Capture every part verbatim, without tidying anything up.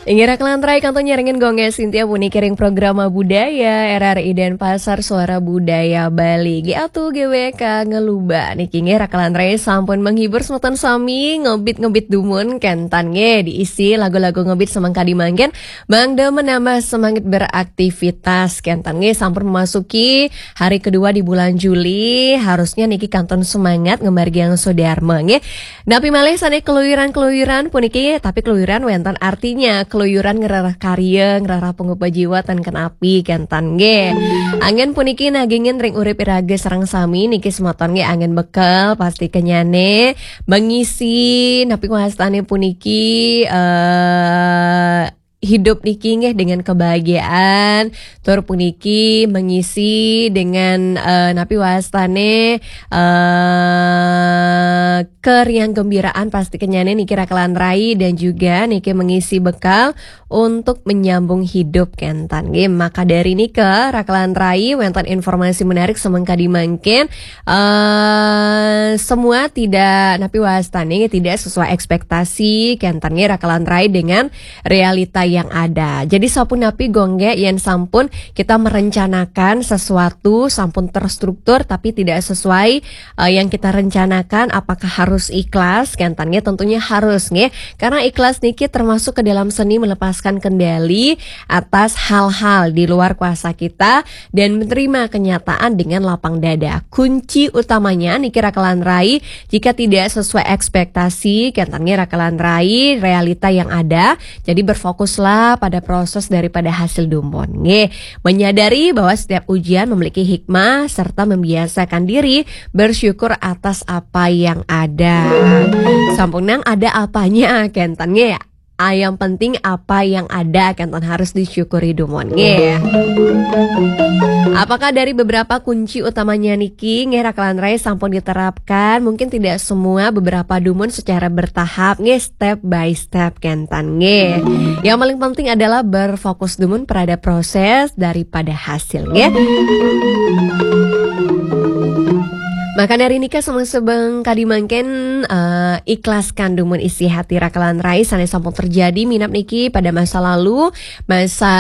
Inggih raka lan rai, kantun nyarengin Gung Ges Sintia puniki ring programa budaya R R I Denpasar Suara Budaya Bali. G A T U G W K ngeluba niki, inggih raka lan rai, sampun menghibur semeton sami, ngebit-ngebit dumun, kenten nggih, diisi lagu-lagu ngebit semeng kadi mangkin, mangda menambah semangat beraktivitas, kenten nggih, sampun memasuki hari kedua di bulan Juli, harusnya niki kantun semangat ngemargiang swadarma nggih. Napi malih sane keluyuran-keluyuran puniki, tapi keluyuran wenten artinya, keluyuran ngrereh karya, ngrereh pangupa jiwa ten kenapi, kenten nggih. Anggen puniki nagingin ring urip iraga sareng sami niki semeton nggih, anggen bekel pasti kenyane mengisi napi wastane puniki, eh, hidup niki nggih dengan kebahagiaan, tur puniki mengisi dengan, eh, napi wastane, eh, keriang gembiraan pasti kenyane niki raka lan rai, dan juga niki mengisi bekal untuk menyambung hidup, kenten nggih. Maka dari nika raka lan rai, wenten informasi menarik semeng kadi mangkin, eh, semua tidak napi wastane, tidak sesuai ekspektasi, kenten nggih raka lan rai, dengan realita yang ada. Jadi sapunapi Gung Ges, yen sampun kita merencanakan sesuatu sampun terstruktur tapi tidak sesuai, eh, yang kita rencanakan, apakah harus ikhlas? Kenten nggih, tentunya harus nggih. Karena ikhlas niki termasuk ke dalam seni melepaskan kendali atas hal-hal di luar kuasa kita dan menerima kenyataan dengan lapang dada. Kunci utamanya niki raka lan rai, jika tidak sesuai ekspektasi, kenten nggih raka lan rai, realita yang ada. Jadi berfokuslah pada proses daripada hasil dumun nggih. Menyadari bahwa setiap ujian memiliki hikmah serta membiasakan diri bersyukur atas apa yang ada. Sampun nang ada apanya, kenten nggih. Ah, yang penting apa yang ada, kenten, harus disyukuri dumun nggih. Apakah dari beberapa kunci utamanya niki nggih raka lan rai sampun diterapkan? Mungkin tidak semua, beberapa dumun secara bertahap nggih, step by step, kenten nggih. Yang paling penting adalah berfokus dumun pada proses daripada hasil nggih. Maka dari nika semeng-semeng kadi mangkin, eh, ikhlaskan dumun isi hati raka lan rai sane sampun terjadi minab niki pada masa lalu, masa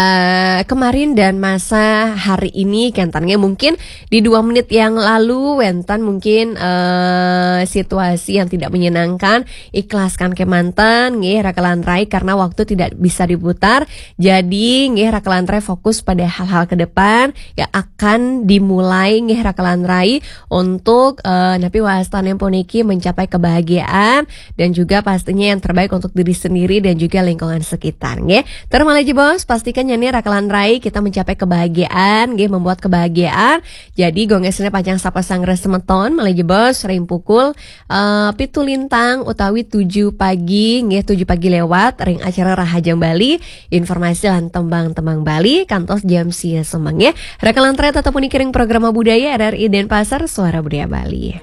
kemarin dan masa hari ini, kenten nggih. Mungkin di dua menit yang lalu wenten mungkin, eh, situasi yang tidak menyenangkan, ikhlaskan kemanten nggih raka lan rai karena waktu tidak bisa diputar. Jadi nggih raka lan rai fokus pada hal-hal ke depan yang akan dimulai nggih raka lan rai untuk, eh, napi wastane puniki mencapai kebahagiaan dan juga pastinya yang terbaik untuk diri sendiri dan juga lingkungan sekitar nggih. Terus malih jebos, pastikan nyane raka lan rai kita mencapai kebahagiaan nggih, membuat kebahagiaan. Jadi Gung Ges sane pacang sapa sanggra semeton malih jebos ring pukul, eh, pitu lintang utawi tujuh pagi nggih, tujuh pagi lewat ring acara Rahajeng Bali, informasi lan tembang-tembang Bali kantos jam sia semeng nggih. Raka lan rai tetep puniki ring programa budaya R R I Denpasar Suara Budaya Bali.